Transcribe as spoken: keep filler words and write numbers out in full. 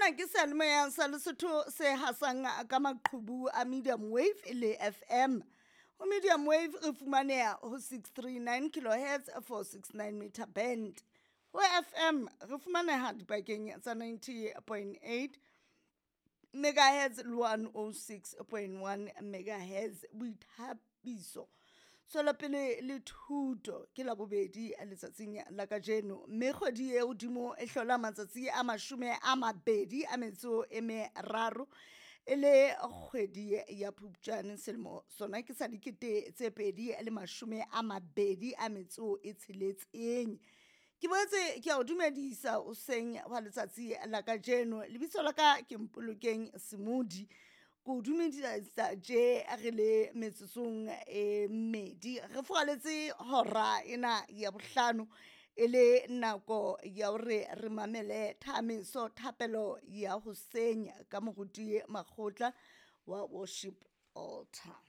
Sena ke seyalemoya sa Lesotho se hasang ka maqhubu a medium wave le F M. Ho medium wave re fumaneha ho six three nine kilohertz, four six nine meter band. Ho F M re fumaneha dipakeng tsa ninety point eight megahertz le one oh six point one megahertz. Boithabiso, tswelopele le thuto. Ke Labobedi letsatsing la kajeno, mme kgwedi e hodimo e hlola matsatsi a mashome a mabedi a metso e meraro, e le kgwedi ya Phupjane, selemo sona ke sa dikete tse pedi le mashome a mabedi a metso e tsheletseng. Ke boetse ke a o dumedisa hoseng wa letsatsi la kajeno. Lebitso la ka ke Mpolokeng Semodi. Ke o dumedisa tje re le metsotsong e mmedi re furaletse hora ena ya bohlano, e le nako ya hore re mamele thamiso thapelo ya hoseng ka moruti Makgotla wa Worship Altar.